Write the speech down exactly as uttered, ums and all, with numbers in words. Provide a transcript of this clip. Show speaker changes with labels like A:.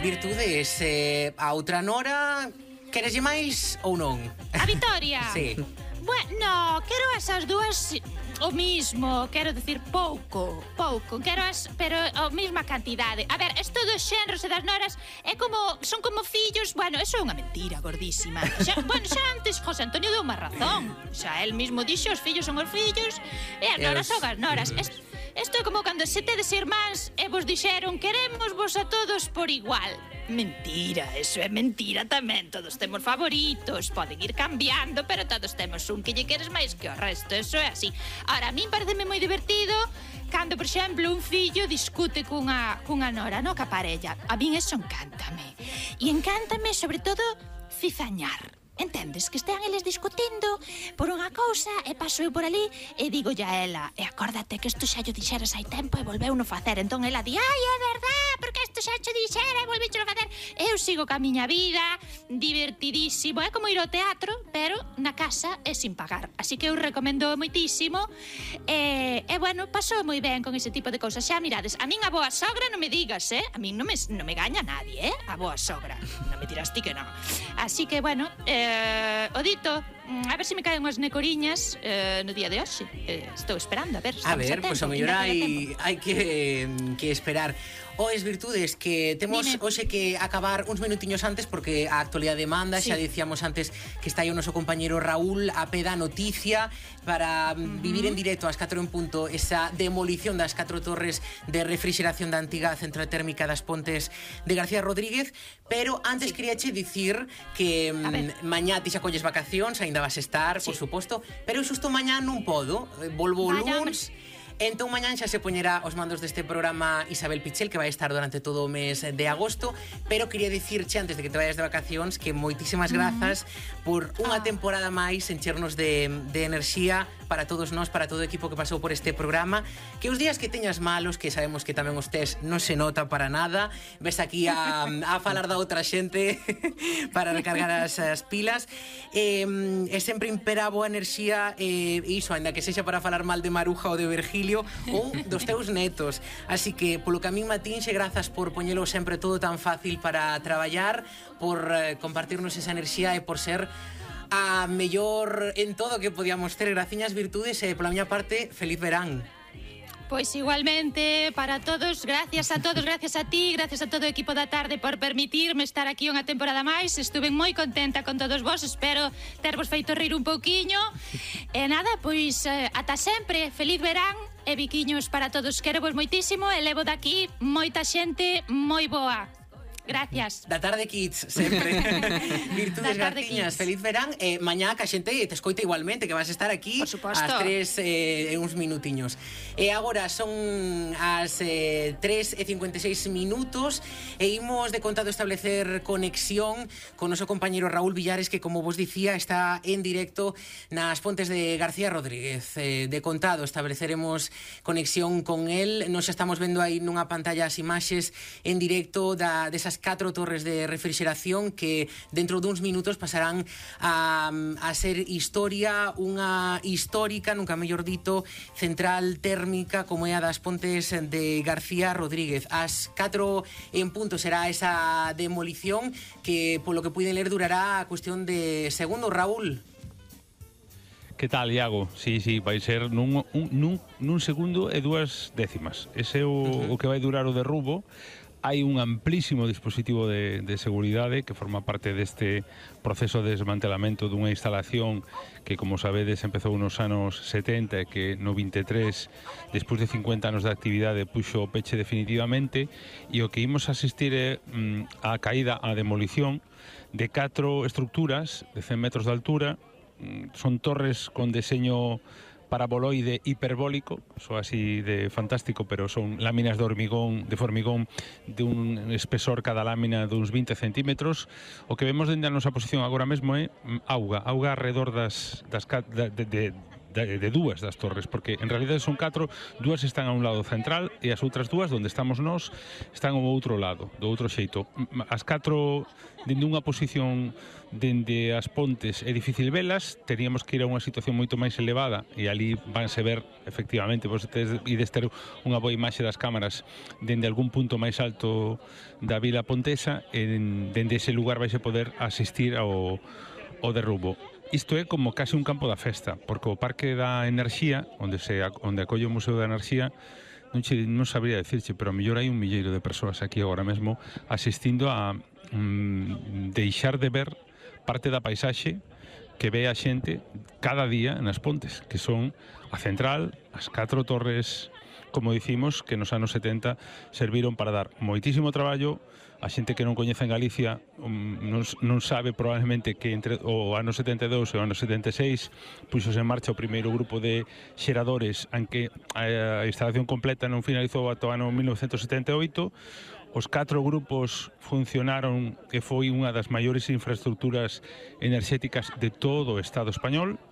A: Virtudes, eh, a outra Nora, quereslle máis ou non?
B: A Vitoria?
A: Sí.
B: Bueno, quero esas dúas o mismo, quero decir pouco, pouco, quero as, pero a mesma cantidade. A ver, isto dos xenros e das noras é como, son como fillos, bueno, eso é unha mentira gordísima. Xa, bueno, xa antes José Antonio deu unha razón, xa el mismo dixo, os fillos son os fillos e as noras son as noras. Isto, isto é como cando se tedes irmáns e vos dixeron queremos vos a todos por igual. Mentira, eso é mentira tamén. Todos temos favoritos, poden ir cambiando, pero todos temos un que lle queres máis que o resto. Eso é así. Ahora, a min pareceme moi divertido cando, por exemplo, un fillo discute cunha, cunha nora, no, ca parella. A min eso encántame. E encántame, sobre todo, cizañar. Entendes? Que estean eles discutindo por unha cousa e paso eu por ali e digo a ela, e acórdate que isto xa yo dixeras hai tempo e volveu no facer. Entón ela di, ai, é verdad, porque isto xa cho dixera e volveu no facer. Eu sigo ca miña vida, divertidísimo, é como ir ao teatro, pero na casa e sin pagar. Así que eu recomendo moitísimo e, e bueno, paso moi ben con ese tipo de cousas. Xa mirades, a min a boa sogra non me digas, eh? A min non me, non me gaña nadie, eh? A boa sogra. Non me dirás ti que non. Así que, bueno, eh, Uh, o dito, a ver se me caen unhas necoriñas uh, no día de hoxe. uh, Estou esperando, a ver.
A: A ver, pois pues, o mellor hai, hai que, que esperar. Oes, Virtudes, que temos Dime. hoxe que acabar uns minutiños antes porque a actualidade demanda, sí. Xa dicíamos antes que está aí o noso compañero Raúl a pé da noticia para uh-huh. vivir en directo ás catro en punto esa demolición das catro torres de refrigeración da antiga central térmica das Pontes de García Rodríguez, pero antes sí. queríache dicir que mañá ti xa colles vacacións, aínda vas estar, sí. por suposto, pero xusto mañá non podo, volvo o luns. Entón, mañán xa se poñerá os mandos deste programa Isabel Pichel, que vai estar durante todo o mes de agosto, pero quería dicirche, antes de que te vayas de vacacións, que moitísimas grazas mm. por unha temporada máis enchernos de, de enerxía para todos nós, para todo o equipo que pasou por este programa, que os días que teñas malos, que sabemos que tamén os tes, non se nota para nada, ves aquí a, a falar da outra xente para recargar as, as pilas, e, e sempre impera a boa enerxía, e iso, ainda que sexa para falar mal de Maruja ou de Virgilio, ou dos teus netos. Así que, polo que a min matinxe, grazas por poñelo sempre todo tan fácil para traballar, por eh, compartirnos esa enerxía e por ser a mellor en todo que podíamos ter. Graciñas, Virtudes, e pola miña parte, feliz verán.
B: Pois igualmente para todos, gracias a todos, gracias a ti, gracias a todo o equipo da tarde por permitirme estar aquí unha temporada máis. Estuve moi contenta con todos vos, espero tervos feito rir un pouquiño. E nada, pois eh, ata sempre, feliz verán e biquiños para todos. Quero vos moitísimo e levo daqui moita xente moi boa. Gracias.
A: Da tarde Kids, sempre. Virtudes Garciñas, feliz verán. eh, Mañá que a xente te escoita igualmente, que vas a estar aquí ás tres eh, uns minutiños. E agora son as eh, tres e cincuenta e seis minutos e imos de contado establecer conexión con o noso compañero Raúl Villares, que, como vos dicía, está en directo nas Pontes de García Rodríguez. eh, De contado estableceremos conexión con él. Nos estamos vendo aí nunha pantalla as imaxes en directo da, desas catro torres de refrigeración que dentro duns minutos pasarán a, a ser historia, unha histórica, nunca mellor dito, central térmica como é a das Pontes de García Rodríguez. As catro en punto será esa demolición que, polo que puiden ler, durará a cuestión de segundos. Raúl.
C: Que tal, Iago? Sí, sí, vai ser nun, un, nun, nun segundo e dúas décimas. Ese é o, uh-huh. o que vai durar o derrubo. Hai un amplísimo dispositivo de, de seguridade que forma parte deste proceso de desmantelamento dunha instalación que, como sabedes, empezou nos anos setenta e que no vinte e tres, despois de cincuenta anos de actividade, puxo o peche definitivamente, e o que imos asistir é mm, a caída, a demolición de catro estructuras de cen metros de altura. mm, Son torres con deseño paraboloide hiperbólico, so así de fantástico, pero son láminas de hormigón, de formigón de un espesor cada lámina de uns vinte centímetros. O que vemos dende a nosa posición agora mesmo é auga, auga alrededor das, das de, de, de, de dúas das torres, porque en realidad son catro, dúas están a un lado central e as outras dúas, onde estamos nós, están ao outro lado, do outro xeito. As catro, dende unha posición dende as Pontes é difícil velas, teríamos que ir a unha situación moito máis elevada e ali vanse ver, efectivamente, vos ides ter unha boa imaxe das cámaras dende algún punto máis alto da vila pontesa e dende ese lugar vais a poder asistir ao, ao derrubo. Isto é como case un campo da festa, porque o Parque da Enerxía, onde se onde acolle o Museo da Enerxía, non, che, non sabría decirche, pero a mellor hai un milleiro de persoas aquí agora mesmo asistindo a mm, deixar de ver parte da paisaxe que ve a xente cada día nas Pontes, que son a central, as catro torres, como dicimos, que nos anos setenta serviron para dar moitísimo traballo. A xente que non coñece en Galicia non, non sabe probablemente que entre o ano setenta e dous e o ano setenta e seis puxos en marcha o primeiro grupo de xeradores en que a instalación completa non finalizou ata o ano mil novecentos setenta e oito. Os catro grupos funcionaron e foi unha das maiores infraestructuras enerxéticas de todo o Estado español.